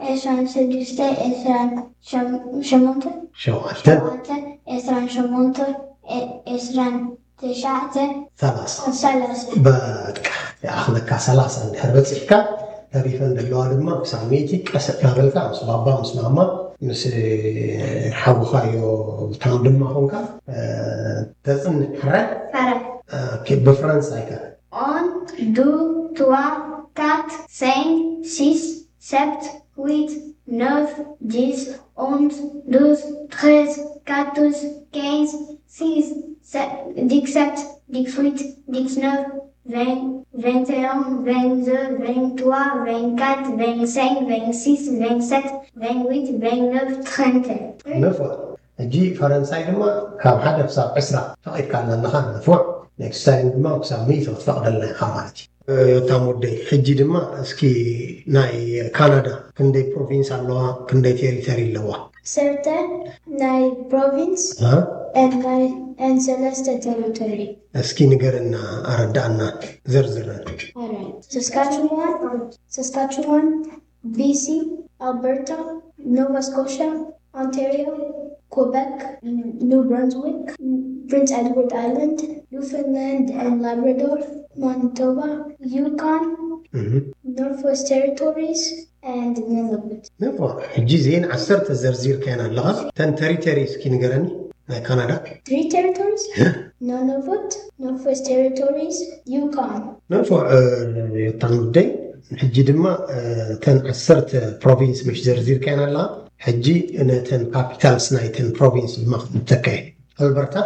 ዕስራን ሽዱሽተ፣ ዕስራን ሸሞንተ፣ ሸውዓተ፣ ዕስራን ሸሞንተ፣ ዕስራን ትሽዓተ፣ ሰላሳ። በቃ ይኣኽለካ። ሰላሳ እንድሕር በፂሕካ፣ ተሪፈን ዘለዋ ድማ ክሳብ ሚእቲ ቀስ እናበልካ ምስ ባባ ምስ ማማ ምስ ሓውኻዮ ብታም ድማ ኾንካ ተፅንሕ። ሕራይ? ብፈረንሳይካ። Un, deux, trois, quatre, cinq, six, sept, huit, neuf, dix, onze, douze, treize, quatorze, quinze, six, dix-sept, dix-huit, dix-neuf, vingt, vingt et un, vingt-deux, vingt-trois, vingt-quatre, vingt-cinq, vingt-six, vingt-sept, vingt-huit, vingt-neuf, trente. ሕጂ ፈረንሳይ ድማ ካብ ሓደ ክሳብ ዕስራ ፈቒድካልና ኣለኻ ንፉዕ። ኔክስት ታይም ድማ ክሳብ ሚእቲ ክትፈቕደልና ኢኻ ማለት እዩ። ዮታም ወደይ፣ ሕጂ ድማ እስኪ ናይ ካናዳ ክንደይ ፕሮቪንስ ኣለዋ፣ ክንደይ ቴሪተሪ ኣለዋ? ሰርተ ናይ ፕሮቪንስ ናይ ሰለስተ ቴሪቶሪ። እስኪ ንገረና፣ ኣረዳእና፣ ዘርዝረን። ሰስካችዋን፣ ሰስካችዋን፣ ቢሲ፣ ኣልበርታ፣ ኖቫ ስኮሻ፣ ኦንታሪዮ፣ ኮበክ፣ ኒው ብራንስዊክ፣ ፕሪንስ ኤድዋርድ ኣይላንድ፣ ኒውፋንላንድ ኤንድ ላብራዶር፣ ማኒቶባ፣ ዩኮን፣ ኖርትዌስት ቴሪቶሪስ ኤንድ ኑኖበት። ሕጂ ዜን ዓሰርተ ዘርዚርካየን ኣለኻ። ተን ተሪተሪ እስኪ ንገረኒ ናይ ካናዳ። Three territories? Nunavut, Northwest Territories, Yukon. ንፉዕ ዮታን ወደይ፣ ሕጂ ድማ ተን ዓሰርተ ፕሮቪንስ ምሽ ዘርዚርካየን ኣለኻ። ሕጂ ነተን ካፒታልስ ናይተን ፕሮቪንስ ድማ ክትተካየ። ኣልበርታ፣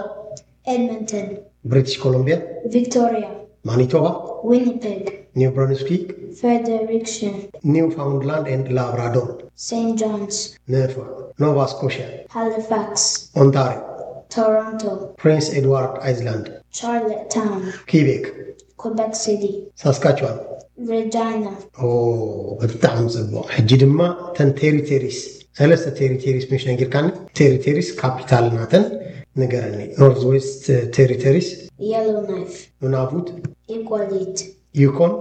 Edmonton, ብሪቲሽ ኮሎምቢያ፣ Victoria, ማኒቶባ፣ Winnipeg, ኒው ብራንስዊክ፣ Fredericton, ኒውፋውንድላንድ ኤንድ ላብራዶር። Saint John's, ንፉዕ። ኖቫ ስኮሽያ፣ Halifax, ኦንታሪዮ፣ Toronto, ፕሪንስ ኤድዋርድ ኣይስላንድ፣ Charlottetown, ኪቤክ፣ Quebec City, ሳስካችዋን። Regina. ኦ ብጣዕሚ ፅቡቕ። ሕጂ ድማ ተን ቴሪተሪስ፣ ሰለስተ ቴሪተሪስ ምሽ ነጊርካኒ። ቴሪተሪስ ካፒታል ናተን ንገረኒ። ኖርዝ ዌስት ቴሪተሪስ፣ Yellowknife, ኑናቡት፣ Iqaluit, ዩኮን።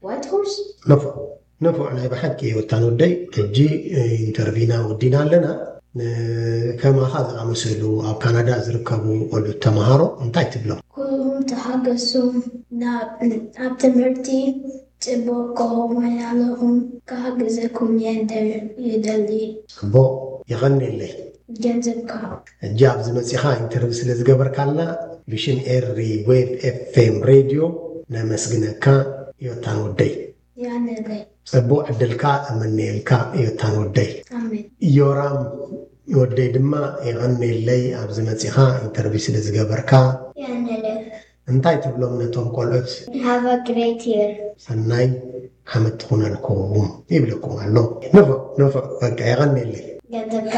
Whitehorse. ንፉዕ፣ ንፉዕ። ናይ ብሓቂ ዮታን ወደይ፣ ሕጂ ኢንተርቪና ወዲና ኣለና። ከማኻ ዝኣመሰሉ ኣብ ካናዳ ዝርከቡ ቆልዑት ተምሃሮ እንታይ ትብሎም? ኩሉኹም ተሓገሱም። ኣብ ትምህርቲ ጽቡቕ ከኸውን ኣለኹም። ክሓግዘኩም እየ ይደሊ። ጽቡቕ፣ የቐንየለይ። ገንዘብካ። ሕጂ ኣብዚ መጺኻ ኢንተርቪው ስለ ዝገበርካልና ብሽም ኤሪ ዌብ ኤፍኤም ሬድዮ ነመስግነካ ዮታን ወደይ። የቐንየለይ። ጽቡቕ ዕድልካ እምነየልካ ዮታን ወደይ። ኣሜን። ዮራም ወደይ ድማ የቐንየለይ ኣብዚ መጺኻ ኢንተርቪው ስለ ዝገበርካ። የቐንየለይ። እንታይ ትብሎም ነቶም ቆልዑት? Have a great year. ሰናይ ዓመት ትኹነልኩም ይብለኩም ኣሎ። ንፉዕ ንፉዕ፣ በቃ የቐንየለይ። ገንዘብካ።